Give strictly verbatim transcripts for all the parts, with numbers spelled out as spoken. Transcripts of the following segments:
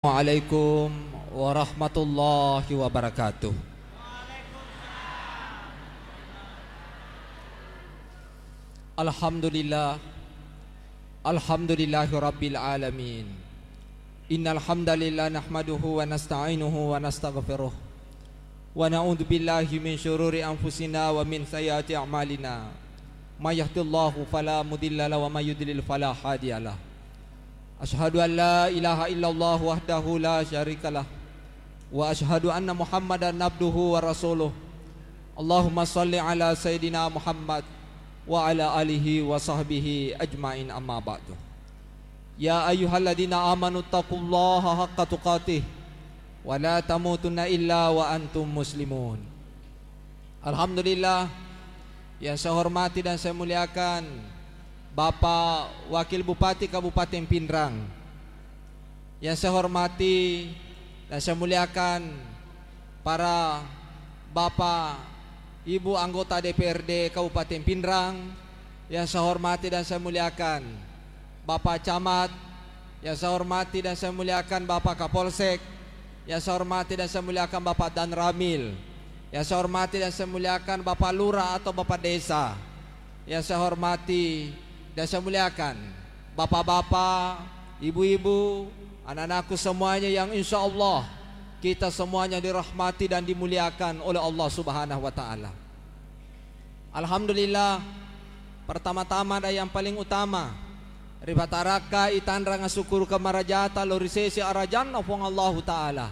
Assalamualaikum warahmatullahi wabarakatuh. Alhamdulillah. Alhamdulillahi rabbil alamin. Innal hamdalillah nahmaduhu wa nasta'inuhu wa nastaghfiruh. Wa na'udzu billahi min syururi anfusina wa min sayyiati a'malina. May yahdillahu fala mudilla lahu wa may yudlil fala hadiya lah. Asyhadu an la ilaha illallah wahdahu la syarikalah. Wa asyhadu anna Muhammadan abduhu wa rasuluh. Allahumma salli ala Sayyidina Muhammad wa ala alihi wa sahbihi ajmain, amma ba'du. Ya ayyuhalladzina amanu taqullaha haqqa tuqatih wa la tamutunna illa wa antum muslimun. Alhamdulillah, yang saya hormati dan saya muliakan Bapak Wakil Bupati Kabupaten Pinrang, yang saya hormati dan saya muliakan para Bapak, Ibu anggota D P R D Kabupaten Pinrang, yang saya hormati dan saya muliakan Bapak Camat, yang saya hormati dan saya muliakan Bapak Kapolsek, yang saya hormati dan saya muliakan Bapak Danramil, yang saya hormati dan saya muliakan Bapak Lurah atau Bapak Desa, yang saya hormati dan saya muliakan Bapak-bapak, ibu-ibu, anak-anakku semuanya yang insya Allah kita semuanya dirahmati dan dimuliakan oleh Allah Subhanahu wa Ta'ala. Alhamdulillah, pertama-tama dan yang paling utama, ripatarakkai tanrang asukuru kamarajata lao ri sese arajanna Puang Allahu Ta'ala.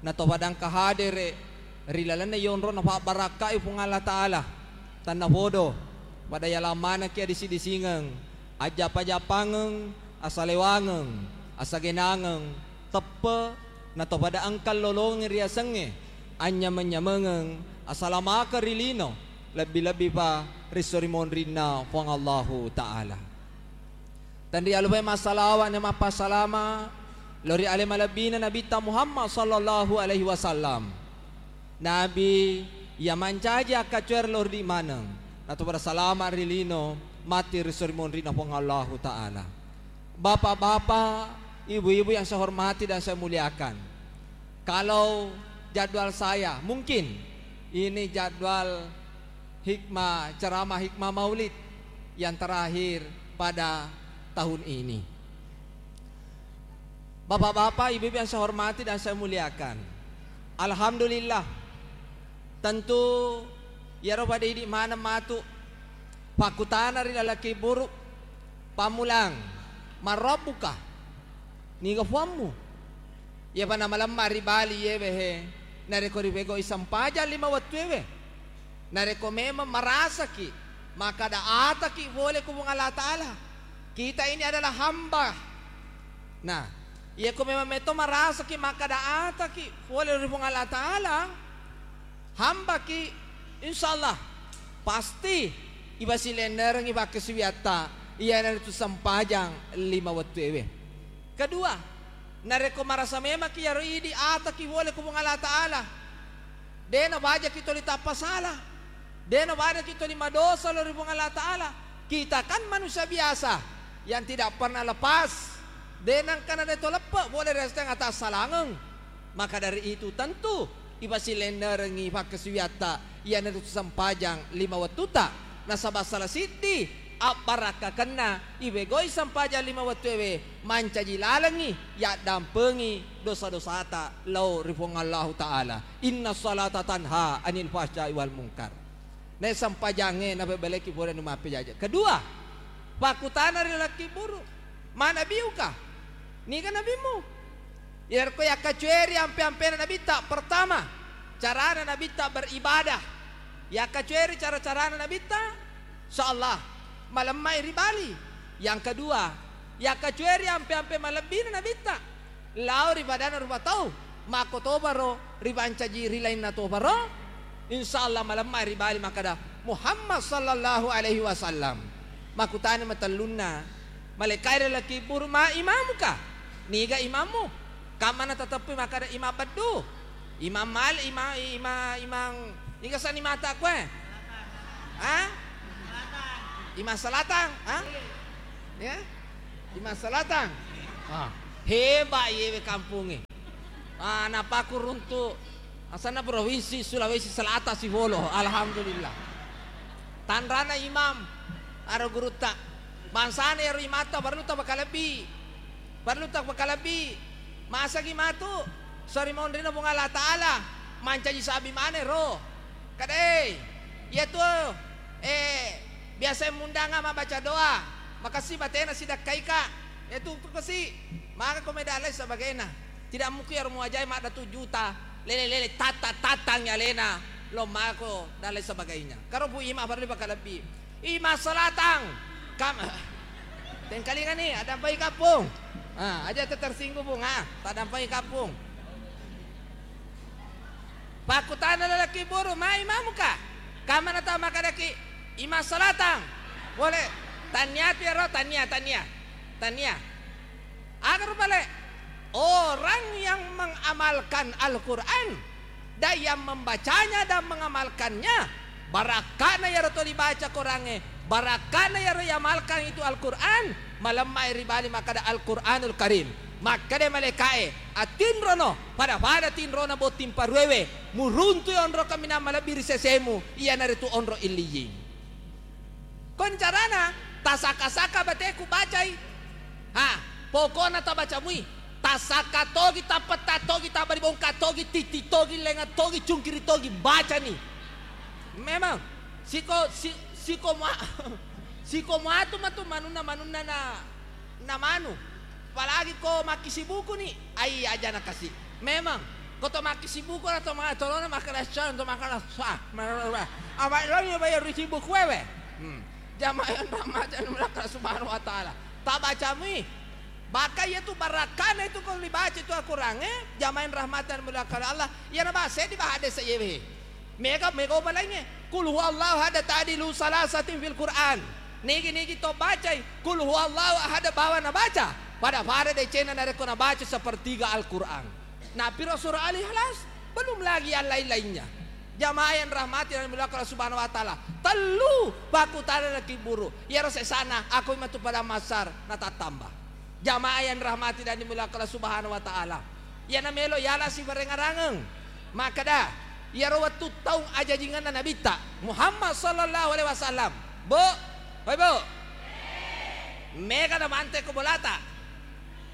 Natopada engka hadere ri lalenna yonrona pabbarakkai Puang Allah Ta'ala. Tannapodo, pada yalang manekki adisi-disingeng, ajjapa-japangeng, asalewangeng, asagenangeng, teppe, natopada engka lolongeng riasengnge, anynyameng-nyamengeng, asalamakeng ri lino, lebbi-lebbipa ri esso ri monrinna Puang Allahu Ta'ala. Tenrialupai massalawa na mappasalama lao ri ale malebbina Nabitta Muhammad sallallahu alaihi wasallam. Nabi iya mancaji akkacoer lao ri maneng, natopada salama ri lino, matti ri esso ri monrinna Puang Allahu Ta'ala. Bapak-bapak, ibu-ibu yang saya hormati dan saya muliakan, kalau jadwal saya, mungkin ini jadwal hikmah, ceramah hikmah maulid yang terakhir pada tahun ini. Bapak-bapak, ibu-ibu yang saya hormati dan saya muliakan, alhamdulillah, tentu iyaro pada idi maneng matu pakkutana ri laleng kibburu, pammulang, "Man rabbuka?" Niga puammu? Iyapa namalemma ri Bali yewe he, narekko ripegau'i sempajang lima wettuewe. Narekko memang marasaki makkada ataki pole ku Puang Allah Ta'ala, kita ini adalah hamba. Nah, iyako memang metto marasaki makkada ataki pole ri Puang Allah Ta'ala, hambaki, insyaallah pasti ipasilennerengngi pakkasiwiatta, iyanaritu sempajang lima wettuewe. Kedua, narekko marasa memaki iyaro idi ataki pole ku Puang Allah Ta'ala, de nabajaki toli tappa sala, de nabajaki toli madosa lao ri Puang Allah Ta'ala. Kita kan manusia biasa yang tidak pernah lepas, de nengka nade to leppe pole ri asteng atassalangeng. Maka dari itu tentu ipasilennerengngi pakkasiwiatta, iyanaritu sempajang lima wettuta. Nasaba sala siddi abbarakkakenna ipegau'i sempajang lima wettuewe, mancaji lalengngi yaddampengi dosa-dosata lao ri Puang Allahu Ta'ala. Inna salata tanha anil fahsya'i wal munkar. Nae sempajangnge napebeleki pole anu mappejaje. Kedua, pakkutana ri laleng kibburu, "Man nabiyuka?" Niga nabimmu? Iyarekko yakkacueri ampe-ampena Nabitta, pertama, carana Nabitta beribadah. Yakkacueri cara-carana Nabitta, insyaallah, malemmai ri Bali. Yang kedua, yakkacueri ampe-ampe malebbina Nabitta, lao ri padanna rupa tau, makkotoparo ripancaji ri lainna toparo, insyaallah malemmai ri Bali makkada, "Muhammad sallallahu alaihi wasallam." Makkutana matellunna, malekkai ri laleng kibburu, "Ma imamuka?" Niga imammu? Kammana tateppui makkada imam beddu? Imam Malik, imam, imam, imam, niga sani mata kue? Ha? Imam Selatang, ha? Ya? Imam Selatang? Ah. Heba iyewe kampungnge. Ah, napakku runtu asanna Provinsi Sulawesi Selatan sifolo. Alhamdulillah. Tanrana imam, aro gurutta. Bangsana ero imatta parellu tapakalebbi. Parellu tapakalebbi. Masagi matu sori monrina Puang Allah Ta'ala mancaji sabi maneng ro. Kadai, iyatu, eh, biasa mundanga mabbaca doa, makessing batena sidakkaika. Iyatu kasi, maka ko meda lain sebagainya. Tidak mungkin ero muajai madda tu juta, lele-lele, tata-tatang alena, lo mako dan lain sebagainya. Karo Bu Ima parellu pakalebbi. Ima salatang. Kam-, tengkalingani, adampai kampung. Ah, aja tersinggung, Bung. Ah, tadampai kampung. Pakkutana lalaki buru, "Ma imamuka?" Kamana tau makkadaki, "Ima salatang." Boleh. Tania tu ero, tania, tania. Tania. Aga rupale? Orang yang mengamalkan Al-Quran dan yang membacanya dan mengamalkannya, barakka'na iyaro to ribaca Qurangnge, barakka'na iyaro iamalkan itu Al-Quran, malemma'i ri bali makkada Al-Quranul Karim. Makkada malaika'e, "Atinrono, pada-pada tinrona botting paruewe, muruntui onro kaminang malebbi ri sesemu, iyanaritu onro Illiyin." Kon carana, tasaka-saka bateku bacai. Ha, pokokna tabacamui. Tasaka togi, tapetta togi, tabari bongka togi, titti togi, lenga togi, cungkiri togi, bacani. Memang, siko, si, siko mua-, siko muatu matu manunna, manunna na, na manu. Apalagi ko makkisibuku ni, ai aja na kasi. Memang, ko to makkisibuku na to ma-, tolona makkada sa, to makkada sa. Apa lo ni bayar risibuku wewe? Hmm. Jamaah yang rahmati dan dimuliakan Allah Subhanahu wa Ta'ala. Tabacamui. Bahkan iyatu barakkana itu ko dibaca itu Al-Quran, eh, jamaah yang rahmati dan dimuliakan Allah. Iyana bahasa di bahade sayewe. Mega, mega balainge. Qul huwallahu ahad ta'dilu salasatin fil Qur'an. Nigi-nigi to bacai Qul huwallahu ahad bawa nabaca. Pada-pada decena narekko nabaca sepertiga Al-Qur'an. Napiro surah Al-Ikhlas, belum lagi yang lain-lainnya. Jamaah yang rahmati dan dimuliakan Allah Subhanahu wa Ta'ala. Tellu pakkutana laki buru. Iyaro sesana, aku matu pada masar, natattamba. Jamaah yang rahmati dan dimuliakan Allah Subhanahu wa Ta'ala. Iyana melo yala siparengarangeng. Makkada, iyaro wettu taung ajajingenna Nabitta Muhammad sallallahu alaihi wasallam. Bu, hoi Bu. Mega na mante ko bolata.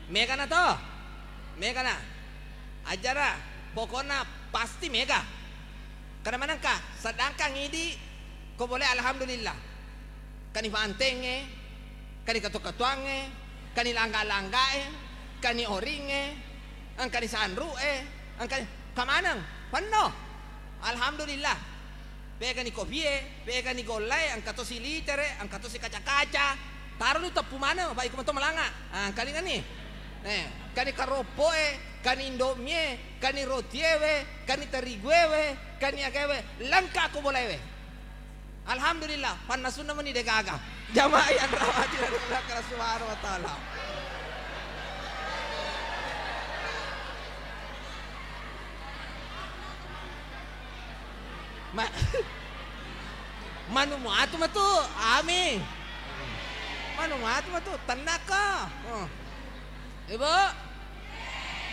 Mega na to. Mega na. Ajara, pokokna pasti mega. Karena manengka, sedangkan idi ko boleh alhamdulillah. Kani fantengnge, kani katu-katuangnge, kani langga-langgae, kani oringnge, engkani sanru'e, engkani kamaneng, penno. Alhamdulillah. Pegani kopie, pegani gollae, engka tosi litere, engka tosi kaca-kaca. Taroni teppu maneng, apa iko meto malanga. Ah, engkalingani. Eh, kani karoppoe, kani indomie, kani rotiewe, kani tariguewe, kani agaewe, lengka ko bolaewe. Alhamdulillah, pannasunna meni degaga. Jamaah yang rahmati dan dimuliakan Allah Subhanahu wa Ta'ala. Ma-, manu muatu matu, amin. Manu muatu matu, tennakka. Oh. Ibu,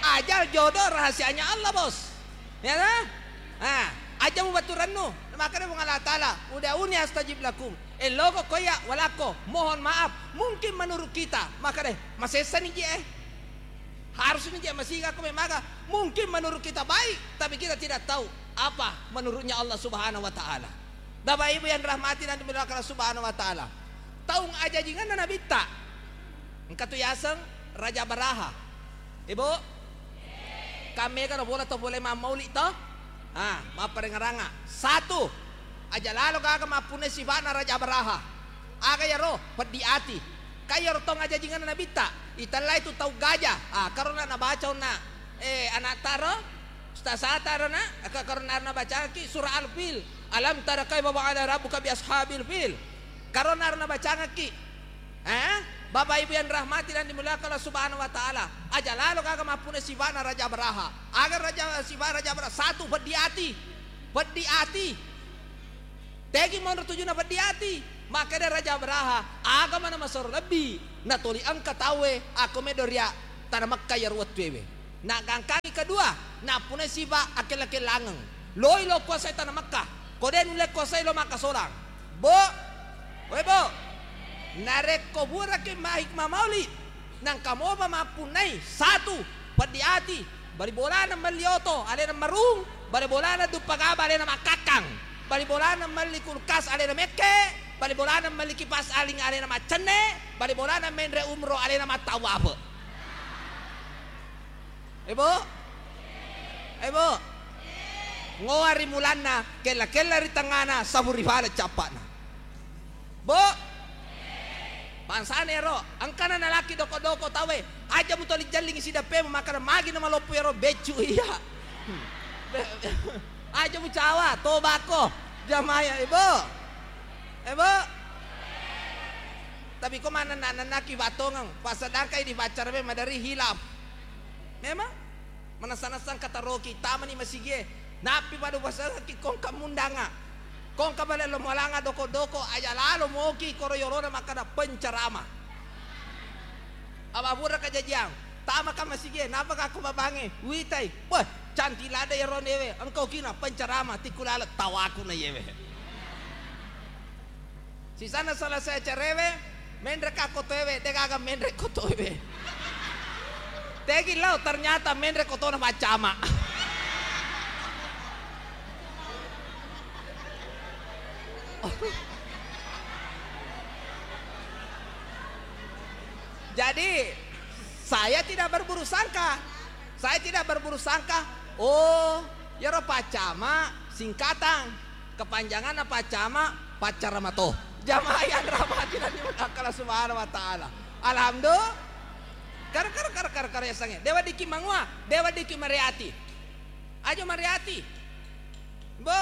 ajal jodoh rahasianya Allah, Bos. Ya kan? Ah, aja mubaturannu. Makanya Puang Allah Ta'ala, "Ud'uni astajib lakum." Eh, loko koya walako, mohon maaf. Mungkin menurut kita, maka deh, masessa ni je, eh. Harus ni je, masih aku memang. Mungkin menurut kita baik, tapi kita tidak tahu apa menurutnya Allah Subhanahu wa Ta'ala. Bapak Ibu yang rahmati dan dimuliakan Allah Subhanahu wa Ta'ala. Taung ajajinganna Nabitta. Engka tu yaseng Raja Baraha. Ibu, kammega na bola to pole mammauli to? Ah, mapparengaranga. Satu, aja lalo gaga mappunai sifa'na Raja Baraha. Aga yaro? Peddi ati. Kai yaro tong ajajinganna Nabitta. Itellai tu tau gaja. Ah, karona nabaca onna, eh, anak taro. Ustaz Sata arona, ka-, karona arona bacangki surah Al-Fil. Alam tara kaifa fa'ala rabbuka bi ashabil fil. Karona arona bacangki. Eh? Bapak Ibu yang rahmati dan dimuliakan Allah Subhanahu wa Ta'ala. Aja lalo gaga mappuna sifana Raja Baraha. Aga raja, sifana Raja Baraha. Satu, peddi ati. Peddi ati. Tegi monro tujuna peddi ati. Makkeda Raja Baraha, aga mana masoro lebbi. Natoli engka tauwe, ako medo ria. Tana Mekka iyaro wettuewe. Nagangkangi kedua, nappunai sifa akella-kellangeng. Loi lo kuasai tana Mekka. Ko de nulle kuasai lo makkasolang. Bo, we bo, narekko buraki mahikmah maulid, nangka mopa mappunnai, satu, peddi ati, bali bolana melli oto, alena marung, bali bolana duppa gaba, alena makkakkang, bali bolana melli kulkas, alena mekke, bali bolana melli kipas aling, alena maccenne, bali bolana menre umro, alena mattawafe. Ebo? Ebo? Ngoa ri mulanna, kella-kella ri tengngana, sabu ri fale cappa'na. Bo? Bangsana ero, engkana nalaki doko-doko tauwe, aja mutoli jellingi sideppemu, makkeda magi namaloppo ero beccu iya. Aja mucawa, tobako, jamaya, ebo? Ebo? Tapi ko manenna-nennaki fattongeng, pasedangkai di paccarawe maderi hilaf. Memang manessa-nessa engka taroki, tamani masigie, nappi pada upasengngi kongka mundanga. Kongka bale lo mualanga doko-doko, aja lalo moki koro yolona makkada pencerama. Apa pura kajajiang, tamaka masigie, napaka ko babange, witai, wah, cantik lada yaro newe, engkau kina pencerama, tikku lale tawaku na yewe. Sisanna selesai acarewe, menre ka kotoewe, degaga menre kotoewe. Tegi lao, ternyata menre kotona maccama. Jadi, saya tidak berburuk sangka. Saya tidak berburuk sangka. Oh, yaro paccama singkatang. Kepanjanganna paccama, paccarama to. Jamaah yang rahmati dan dimuliakan Allah Subhanahu wa Ta'ala. Alhamdulillah. Kar, kar, kar, kar, kar, yasengnge. Dewa diki mangua, dewa diki mariati. Aja mariati. Bo.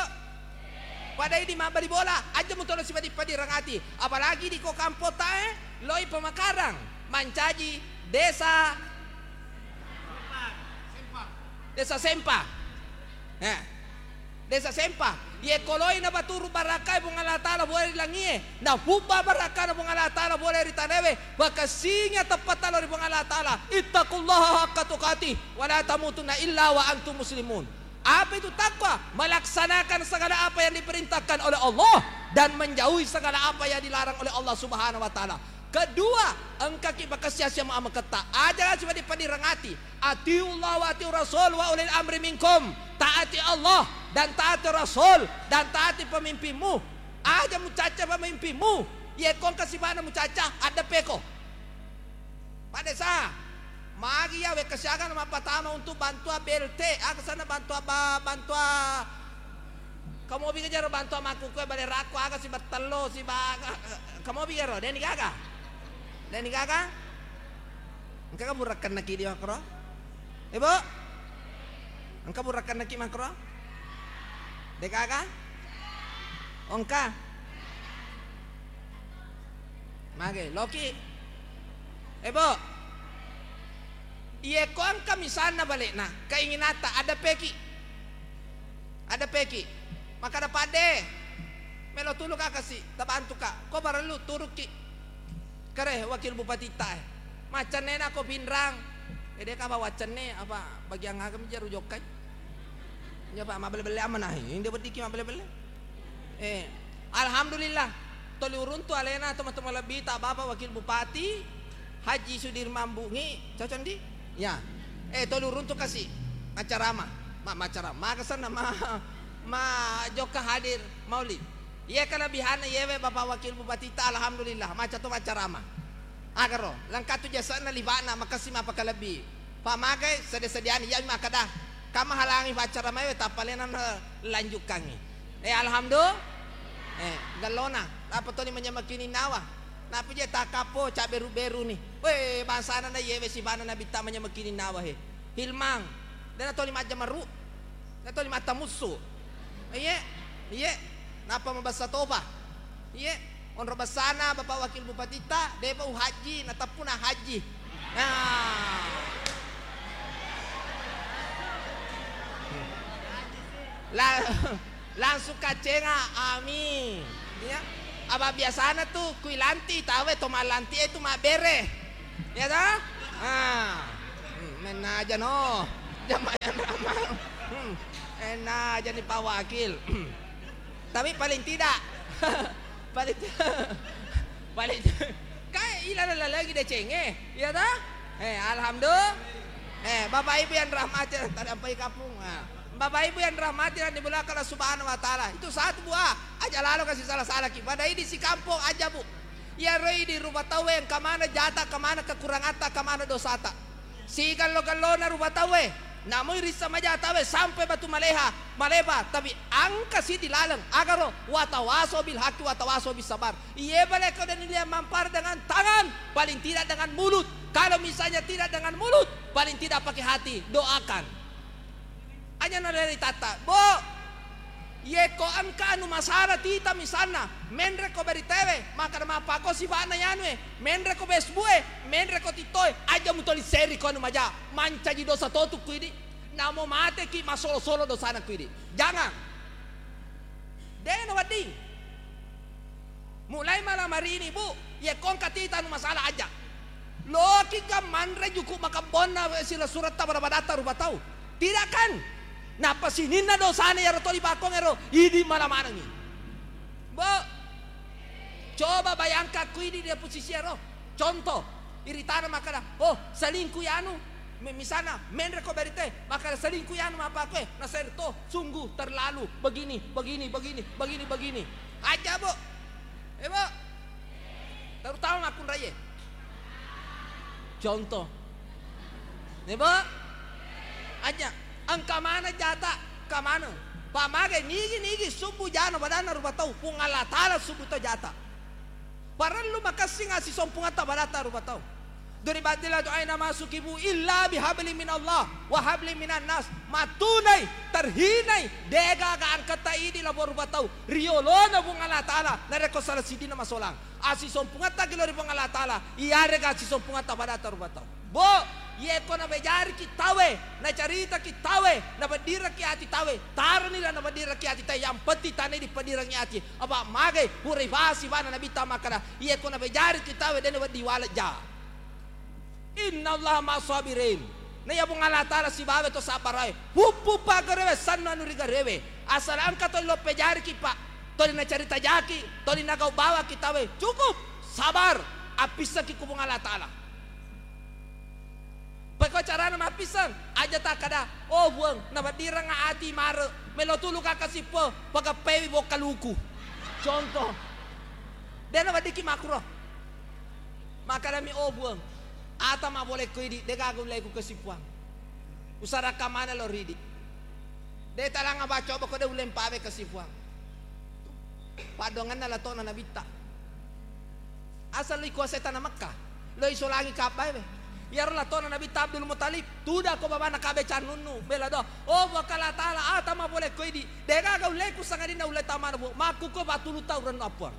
Pada idi mabbali bola, aja mutolo sipadi-padi rangati. Apalagi di ko kampota, eh, loi Pemakarang, mancaji desa, desa Sempa. Eh. Desa Sempa, ye koloi nabaturu barakkae Puang Allah Taala bola ri langie, nafubba barakkana Puang Allah Taala bola ri tanaewe, pakessingi ateppatta lao ri Puang Allah Taala. Ittaqullaha haqqa tuqatih, wa la tamutunna illa wa antum muslimun. Apa itu takwa? Melaksanakan segala apa yang diperintahkan oleh Allah dan menjauhi segala apa yang dilarang oleh Allah Subhanahu wa Taala. Kedua, engkaki pakessi asia ameketta. Aja sipadi-padi rangati. Atiullah wa atiur rasul wa ulil amri minkum. Taati Allah dan taati Rasul dan taati pemimpinmu. Aja mucacca pemimpinmu. Ye ko engka sibana mucacca, addeppeko. Pak Desa, magi ya wekka siaga na mappatama untuk bantuan B L T, aga sana bantuan ba-, bantuan Kamobi kejaro bantuan makkukue bale rakko aga sibettello sibaga. Kamobi ero, deni gaga? Deni gaga? Engka ka burakkenna ki di makro? Ibu? Engka burakkenna ki makro? De gaga? Engka? Mage, loki? Ibu? Iye ko engka misalna bale'na, keinginata, ada peki. Ada peki. Makkada, "Padde, melo tulu ka kasi, tabantu ka." Ko parellu turukki. Kare wakil bupatitta e. Maccennena ko Pinrang. Ede ka apa waccenne, apa bagian aga mi jaru jokkai? Iya, Pak, mabbelle-belle amana. Inde weddikki mabbelle-belle. Eh, alhamdulillah. Toli uruntu alena tomatoa malebbita Bapak Wakil Bupati Haji Sudirman Bungi, cocok ndi? Ya. Eh, toli uruntu kasi macarama. Ma, macarama. Makasenna ma, ma jokka hadir maulid. Iye kelebihanna iyewe Bapak Wakil Bupati ta, alhamdulillah, maca to macarama. Agaro, lengkatu jasana libana makassi mapakalebbi. Pamagai sede-sedeani, iyami makkeda, kamahalangi paccaramae, tappa lena lanjukkangi. Eh, alhamdulillah. Eh, gellona, apa toni manyameng kininnawa. Napi je takappo, cabberu-beruni. Weh, bangsana na iyewe sibana nabitta manyameng kininnawa he. Hilmang, dena toni majjameru. Dena toni mattamussu. Iye, iye. Nappa mabessa topa. Iye, onro bessana Bapak Wakil Bupatitta, depa uhajji, nateppuna hajji. Nah. La-, langsung kacenga, amin. Iya. Apa biasana tu kui lanti, tawe to mallanti e tu mabbere. Iya ta? Ah. Hmm, mennaja no. Jamaah yang ramah. Hmm, mennaja ni Pak Wakil. Tapi paling tidak, paling ti-, paling ti-, kae ilala lagi decengnge, iya ta? Eh, alhamdulillah. Eh, Bapak Ibu yang rahmati, tadi ampai kapung. Ah. Bapak Ibu yang rahmati dan dimuliakan Allah Subhanahu wa Ta'ala. Itu satu buah. Aja lalo kasih salah-salah ki. Pada idi sikampong aja, Bu. Iyaro idi rupa tauwe engka mana jata, engka mana kekurangatta, engka mana dosata. Sigello-gellona rupa tauwe, namui rissa maja tauwe sampai batu maleha, malepa, tapi engka siti laleng, agaro, watawaso bil haqqi watawaso bis sabar. Iye bale ko deni lia mampar dengan tangan, paling tidak dengan mulut. Kalau misalnya tidak dengan mulut, paling tidak pakai hati, doakan. Aja na ri tatta, Bo, yeko engka anu masalah tita misalna, menre ko beritewe, makkada mappako sibana yanue, menre ko Facebook e, menre ko TikTok e, aja mutoli seri ko anu maja, mancaji dosa totu ku idi, namo mateki masolo-solo dosana ku idi. Jangan. Dena wedding. Mulai malam hari ini, Bu, yekko engka tita anu masalah aja. Loki ga manre juku makembonna sila suretta pada-padatta rupa tau. Tidak kan? Nappa sininna dosana iyaro toli bakong ero, idi mala manengi. Bu, coba bayangkan ku idi dia posisi ero. Contoh, iritana makkada, "Oh, selingkuh yanu." Mi-, misalna, menre ko berite, makkada, "Selingkuh yanu mappakkoe." Naseng to, "Sungguh terlalu begini, begini, begini, begini, begini." Aja, Bu. Eh, Bu. Terutama makkunraie. Contoh. Eh, Bu. Aja. Engka mana jata, engka mana. Pamage nigi-nigi subbu jana badanna rupa tau. Puang Allah Ta'ala subbu to jata. Parellu makessing assisompungetta badatta rupa tau. Duribatil adu aina masukibu illa bihabli minallah wa habli minan nas. Matunai, terhinai, degaga angketta idi labo rupa tau. Riolona Puang Allah Ta'ala, narekko salah sidina masolang. Assisompungetta ki lao ri Puang Allah Ta'ala, iyarega assisompungetta badatta rupa tau. Bo, yeko nabejariki tawe, nacaritaki tawe, nabeddiraki ati tawe, taroni la nabeddiraki ati tawe, yang penting tanai dipeddirangi ati. Apa magai, purai fasi bana Nabitta makkada, yeko nabejariki tawe, dena wedding walejja. Innallaha ma'as sabirin. Na iya Puang Allah Ta'ala sibawa to sabbarae. Puppu paggarewe sanna anu rigarewe. Asal engka toli lo pejariki, Pak. Toli nacarita jaki, toli nagau bawaki tawe. Cukup, sabar. Appissaki ku Puang Allah Ta'ala. Pekko carana mappisseng, aja takkada, "Oh Puang, nabeddireng ati mare, melo tulu ka kasippo, pagappewi bokka luku." Contoh. Dena weddikki makkuro. Makkedami, "Oh Puang, ata mapolekko idi, degaga ullei ku kasippuang. Usarakka maneng lao ridi. De talang abacco boko de ullei mpawe kasippuang." Paddoangenna latona Nabitta. Asal lo ikuasai tana Mekka, lo isolangi Ka'bah we. Iyaro latona Nabitta Abdul Muttalib, tudako babana Ka'bah cannunnu, bela doa, "Oh Puang Allah Ta'ala, ata mapolekko idi, degaga ullei ku sangadinna ullei tamana Puang, makkukko patulu tau rennu appuang."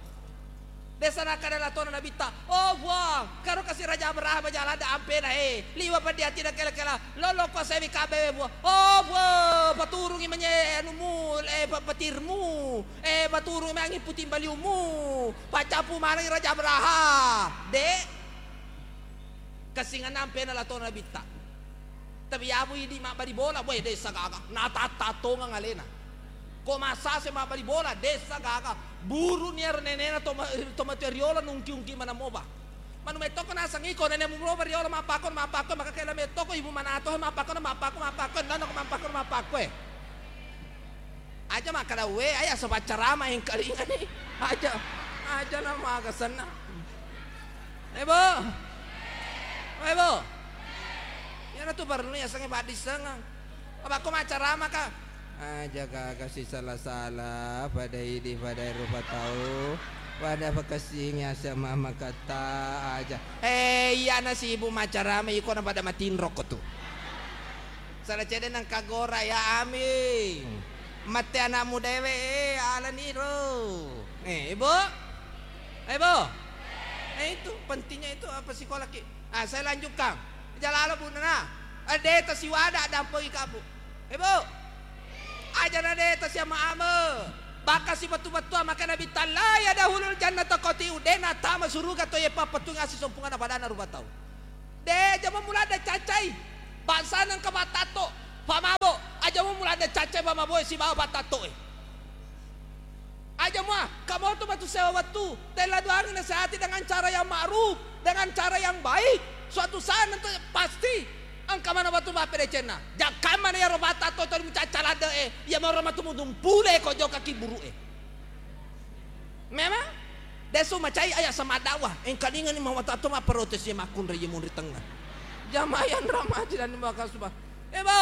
Desa nakkeda latona Nabitta, "Oh Puang, karo kasi Raja Abraham aja ladde ampena, eh, liwa peddi atina kela-kela, lolo kuasai Ka'bah we Puang. Oh Puang, paturungi manye anumu, eh, pe-, petirmu, eh, paturungi mangi puting baliummu, paccapu manengi Raja Abraham." De'. Kessingenna ampena latona Nabitta. Tapi yabu idi mabbali bola, boe, dessa gaga. Natatta tongeng alena. Ko massase mabbali bola, dessa gaga. Buruni ero nenena to ma-, to matu riolo nungki-ungki maneng mopa. Manu mettoko naseng iko nene muroba riolo mappakko, mappakko, maka kela mettoko ibu manato, mappakko, mappakko, mappakko, nana ko mappakko, mappakko, eh. Aja makkeda, "We, aja asa paccarama engkalingani." Aja, aja na maga senna. Eh, Bo. Eh, Bo. Iyana tu parellu yasengnge paddissengeng. Apa ko maccarama ka? Aja gaga sisala-sala, pada idi, pada rupa tau, pada pakessingi asa mama kata aja. Eh, iyana sibuk maccarama, iko na pada matinrokko tu. Sala cede nengka gora, ya amin. Mate anakmu dewe, eh, alani ro. Eh, Ibu? Eh, Ibu? Eh, itu pentingnya itu apa sekolah ki? Ah, saya lanjutkan. Jalalo Bu Nana. Eh, deta siwada dampoi kabu. Eh, Bu? Aja na deta siama ame. Baka si betu-betua maka Nabi tala ya dahulul jannata kotiu. Dena tama suruga to ye papetunga si sompunga na padana rupa tau. De, jama muladde caccai. Bangsana engka pattatto, pamabo, aja mu mulada cacca pamaboe sibawa pattattoe. Aja mua, kamoto matu sewa wettu, tella duangi nasehati dengan cara yang ma'ruf, dengan cara yang baik. Suatu saat nanti pasti engka mana wettu mappedecenna. Jakkamana iyaro pattatto tuli mucacca ladde'e, iya maro matu mudumpule ko jokka kiburu'e. Memang desu macai aya sama dakwah. Engkalingani mawatang to mapprotes ye makkunrai ye munri tengnga. Jamaah yang rahmati dan dimuliakan subhanahu. Eh, Bo.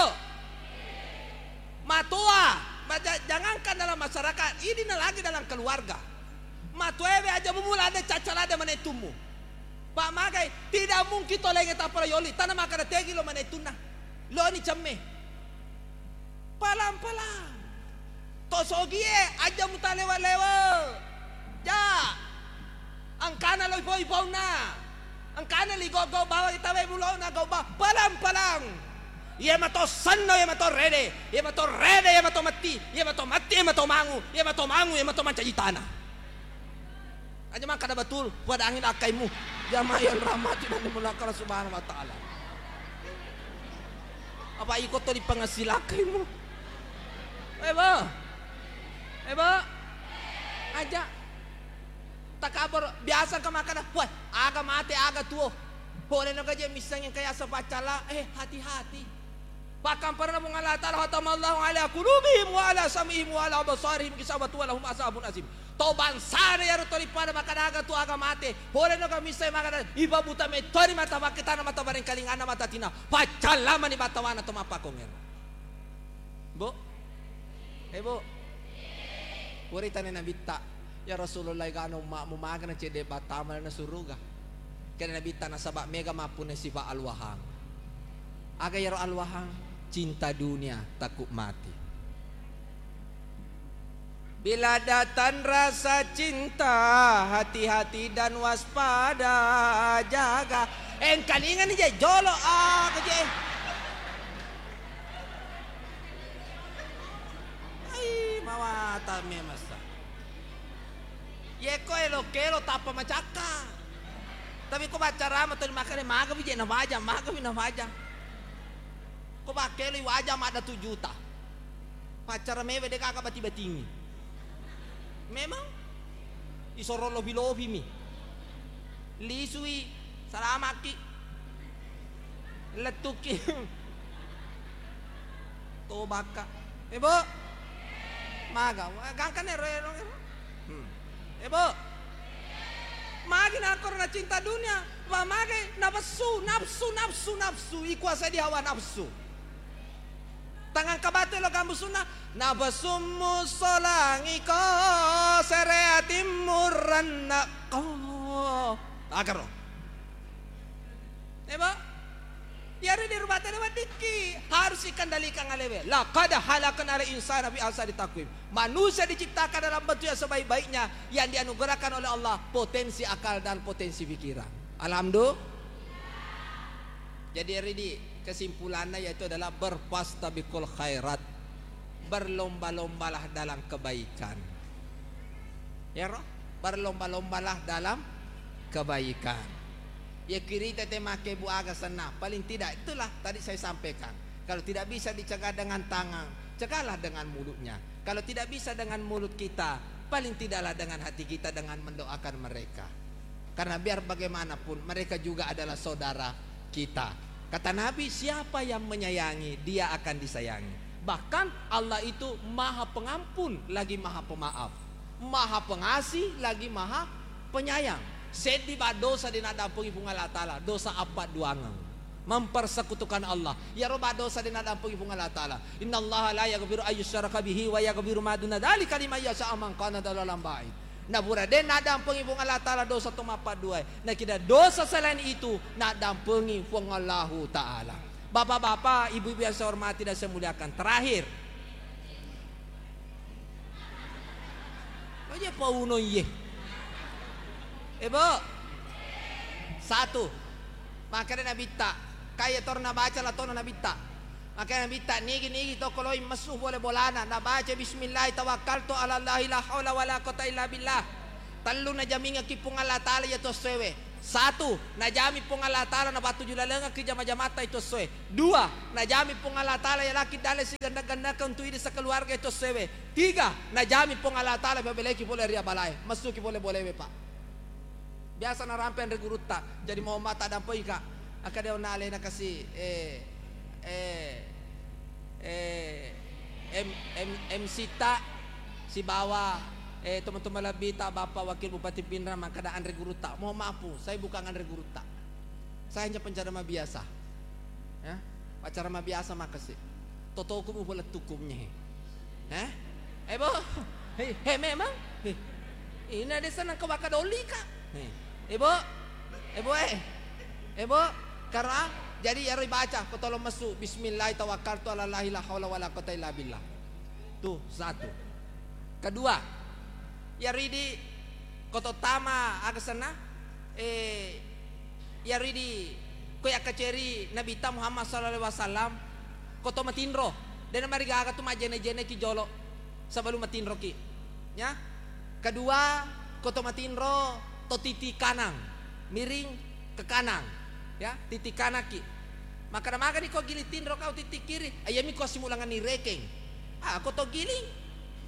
Matua, maja-, jangankan dalam masyarakat, ini lagi dalam keluarga. Matuae aja mumula ada cacal ada manetummu. Pak magai, tidak mungkin to lenge tappa yoli, tanah makan tegi lo manetunna. Lo ni cemme. Palang-palang. To sogie, aja mutalewa-lewa. Ja. Engkana lo ipo-ipouna. Engkana li gau-gau bawa kita we mulona gau ba-, palang-palang. Iya mato senno, iya mato rede, iya mato rede, iya mato matti, iya mato matti, iya mato mangu, iya mato mangu, iya mato mancaji tanah. Aja makkada betul, puadangi lakkaimu. Jamaah yang rahmati dan dimuliakan Allah Subhanahu wa Ta'ala. Apa iko to dipangassi lakkaimu? Eh, Bo. Eh, Bo. Aja. Takabur, biasa ka makkada, "Wah, aga mate, aga tuo." Pole no gaje missengnge kaya asa paccala, eh, hati-hati. Pakkamparana Puang Allah Ta'ala, "Khatamallahu ala qulubihim wa ala sam'ihim wa ala absarihim gisawatun wa lahum azabun azim." To bangsana iyaro tuli pada makkada aga tu aga mate. Pole no kami sai makkada, ipabuta mettori mata pakkitana, mata barengkalinganna, mata tina. Paccalamani batawana to mappakongero. Bu? Eh, Bu? Puritani Nabitta, "Ya Rasulullah, egana umma'mu magana cedde battama na suruga." Kena Nabitta, "Nasaba mega mappunna sifa alwahang." Aga iyaro alwahang? Cinta dunia, takut mati. Bila datang rasa cinta, hati-hati dan waspada, jaga. Engkalingani je jolo, ah, keje. Ai, mawata memasa. Yeko elo-kelo tappa macakka. Tapi ko baccarama tuli makkeda, "Magami je nafaja, magami nafaja." Ko bakkeloi waja madda tu juta. Paccara mewe de gaga bati-batingi. Memang isoro lofi-lofimi. Lisui, salamakki. Lettukki. Tobakka. Eh, Bu? Maga, gangkan ero, ero, ero. Hmm. Eh, Bu? Magi nakkoro na cinta dunia, wa magi nafsu, nafsu, nafsu, nafsu, ikuasai di hawa nafsu. Tangang kabatu lo gambusunna, nafsummu solangiko, sereatimmu rennakko. Agaro. Eh, Bu? Iyaro di rumah tangga weddikki harus ikendalikan alewe. Laqad khalaqnal insana fi ahsani taqwim. Manusia diciptakan dalam bentuk yang sebaik-baiknya, yang dianugerahkan oleh Allah potensi akal dan potensi pikiran. Alhamdulillah. Jadi, Ridi, kesimpulannya yaitu adalah berfastabiqul khairat. Berlomba-lombalah dalam kebaikan. Ya, roh? Berlomba-lombalah dalam kebaikan. Ya, kirita te make bu aga senna. Paling tidak itulah tadi saya sampaikan. Kalau tidak bisa dicegah dengan tangan, cegahlah dengan mulutnya. Kalau tidak bisa dengan mulut kita, paling tidaklah dengan hati kita dengan mendoakan mereka. Karena biar bagaimanapun, mereka juga adalah saudara kita. Kata Nabi, "Siapa yang menyayangi, dia akan disayangi." Bahkan Allah itu Maha Pengampun lagi Maha Pemaaf, Maha Pengasih lagi Maha Penyayang. Seddi ba dosa de naddampengi Puang Allah Taala, dosa appadduangeng. Mempersekutukan Allah. Iyaro ba dosa de naddampengi Puang Allah Taala. "Innallaha la yaghfiru ayyusyraka bihi wa yaghfiru ma duna dzalika liman yasha man kana dzalalan ba'id." Napura de naddampengi Puang Allah Taala dosa to mappaddua, nakida dosa selain itu naddampengi Puang Allahu Taala. Bapak-bapak, ibu-ibu yang saya hormati dan saya muliakan, terakhir, aja pauno iye. Eh, Bu. Satu. Makanya Nabitta. Kaya tor nabaca latona Nabitta. Makanya Nabitta, nigi-nigi to koloi messu bola-bolana, nabaca bismillah, tawakkaltu ala Allahi la haula wala quwata illa billah. Tellu najamingekki Puang Allah Taala iya to sewe. Satu, najami Puang Allah Ta'ala napattuju lalengekki jama-jamatta itu essoe. Dua, najami Puang Allah Ta'ala yalaki dalle sigenneng-gennengke untu idi sekeluarga itu essoewe. Tiga, najami Puang Allah Ta'ala pabeleki pole ri abalae, messuki pole bolewe, Pak. Biasa narampe anre gurutta, jadi mohon maaf taddampengika. Akkeda onna alena kasi, eh, eh, eh, M-, M-, M C ta sibawa, eh, teman-teman lebih ta Bapak Wakil Bupati Pinrang makkeda anre gurutta. Mohon maaf, Pu, saya bukan anre gurutta. Saya hanya penceramah biasa. Ya, acara ma biasa makessing. Totoku mu bola tukumnya. Hah? Eh, Bo? Hei, hei, memang? Hei. Ini ada senang ke waka doli, Kak. Hei. Eh, Bo? Eh, Bo, eh. Eh, Bo, karena jadi ya baca, ko tolong mesu, "Bismillah tawakkaltu ala Allahi la haula wala quwata illa billah." Tuh, satu. Kedua, ya ridi ko to tama aga senna, eh, Iyaridi ko yakkaceri Nabitta Muhammad sallallahu alaihi wasallam, ko to matinro, dena marigaga tu majjene-jeneki jolo sebelum matinroki. Ya. Kedua, ko to matinro to titi kanang, miring ke kanang, ya, titi kanakki. Makkeda magani ko giling tinro kau titi kiri, ayami ko simulanganni rekeng. Ah, ko to giling.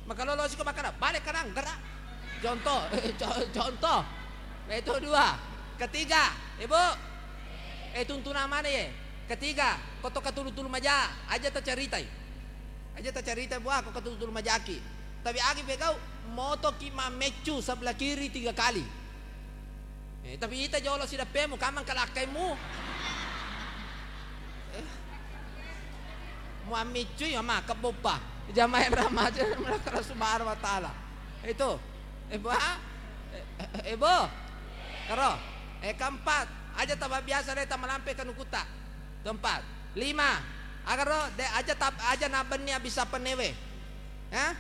Makalolosi ko makkeda, "Bale kanang, gerak." Contoh, co-, contoh. Nah, itu dua. Ketiga, Ibu. Eh, tuntunang mana ye? Ketiga, ko to katulu-tulu maja, aja tacaritai. Aja tacaritai, buah, ko katulu-tulu majaki. Tapi agi pegau, motoki mameccu sebelah kiri tiga kali. Eh, tapi ita jolo sidappemu, kamang kalakkaimu. Eh, muammiccui, ama, kebboppa. Jamaah yang rahmati Allah Subhanahu wa Ta'ala. Itu. Eh, Bu, ha? Eh, eh, eh, Bu. Karo. Eh, keempat. Aja taba biasa deh, tamalampe kanukutta. Keempat. Lima. Agaro, de, aja tab-, aja nabenni abissa pennewe. Eh?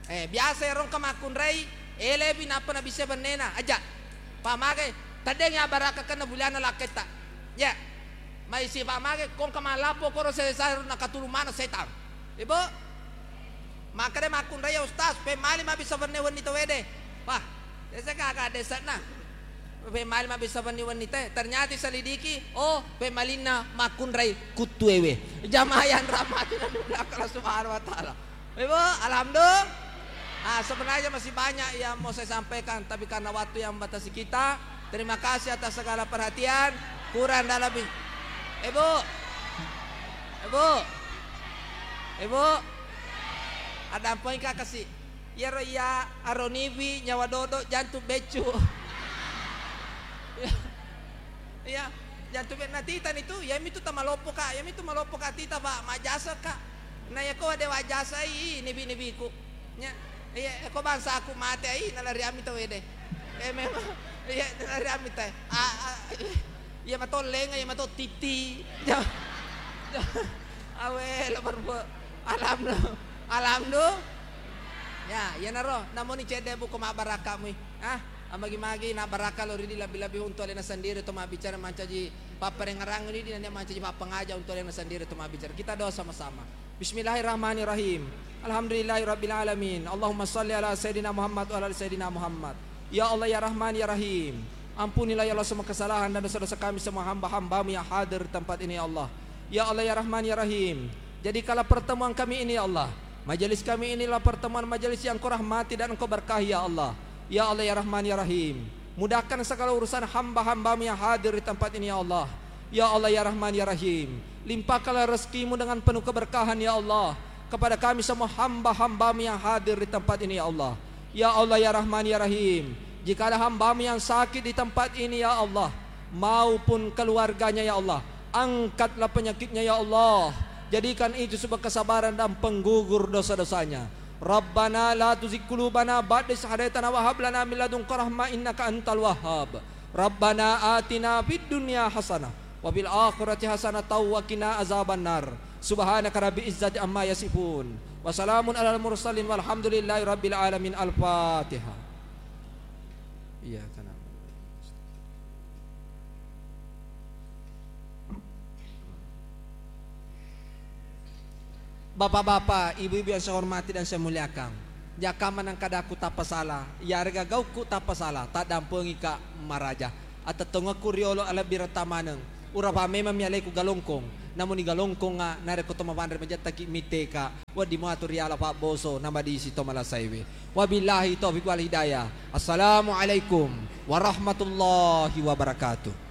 Eh, biasa ero engka makkunrai, elepi nappa nabissai bennena, aja. Pamage, teddeng ya barakka kenna bulianna lakketta. Ya. Mai sipa mage, ko engka mallapo koro selesai ro nakatulung maneng setang. Ibu, makkeda makkunrai ya Ustaz, pemmali mabissa benne wenni tawede. Wah, desa gaga desanna. Pemmali mabissa wenni-wenni te. Ternyata selidiki, oh, pemmalinna makkunrai kuttuewe. Jamaah yang rahmati Allah Subhanahu wa Ta'ala. Ibu, alhamdulillah. Ah, sebenarnya masih banyak yang mau saya sampaikan, tapi karena waktu yang membatasi kita, terima kasih atas segala perhatian. Kurang dan lebih. Ibu, Ibu, Ibu, ada apa yang kasih? Iyaro iya aroniwi nyawa dodo jantung beccu. Iya, jantung be-, natitani tu, iyamitu tamaloppo ka, iyamitu maloppo ka tita, Pak, majjasa ka. Na yako de wajjasai nibi-nibiku. Nya, iya, ko bangsa aku mate ai nalari ami tawede. Eh, memang, iya, nalari ami te. A, a, iya mato lenga, iya mato titi. Awe, lo berbuat. Alhamdulillah. Alhamdulillah. Ya, iyanaro, namoni cedde buko mabbarakka mui. Ah, amagi-magi nabbarakka lo ridi lebbi-lebbi untuk alena sendiri to mabbicara mancaji papparengngerang ridi nennia mancaji pappangaja untuk alena sendiri to mabbicara. Kita doa sama-sama. Bismillahirrahmanirrahim. Alhamdulillahirabbil alamin. Allahumma shalli ala sayyidina Muhammad wa ala ali sayyidina Muhammad. Ya Allah, ya Rahman, ya Rahim, ampunilah ya Allah semua kesalahan dan dosa-dosa kami semua hamba-hambamu yang hadir di tempat ini ya Allah. Ya Allah, ya Rahman, ya Rahim, jadikanlah pertemuan kami ini ya Allah, majelis kami inilah pertemuan majelis yang Kau rahmati dan Engkau berkahi ya Allah. Ya Allah, ya Rahman, ya Rahim, mudahkan segala urusan hamba-hambamu yang hadir di tempat ini ya Allah. Ya Allah, ya Rahman, ya Rahim, limpahkanlah rezekimu dengan penuh keberkahan ya Allah kepada kami semua hamba-hambamu yang hadir di tempat ini ya Allah. Ya Allah, ya Rahman, ya Rahim, jika ada hambamu yang sakit di tempat ini ya Allah, maupun keluarganya ya Allah, angkatlah penyakitnya ya Allah. Jadikan itu sebuah kesabaran dan penggugur dosa-dosanya. Rabbana la tuzigh qulubana ba'da idh hadaytana wa hab lana min ladunka rahmah innaka antal wahhab. Rabbana atina fid dunya hasanah wa fil akhirati hasanatan wa qina azabannar. Subhanaka rabbil izzati amma yasifun. Wa salamun alal mursalin walhamdulillahi rabbil alamin. Al-Fatihah. Iyyaka na'budu. Bapak-bapak, ibu-ibu yang saya hormati dan saya muliakan, jaka manengkadaku tappa sala, yarega gaukku tappa sala, taddampengika maraja. Atettongekku riolo alebbiretta maneng. Urapa memang mi aleku galongkong. Namuni galongkonga narekko to mapanre majettaki mitteka. Wedding muatu riala pabboso namadisi to malasaiwe. Wabillahi taufiq wal hidayah. Assalamualaikum warahmatullahi wabarakatuh.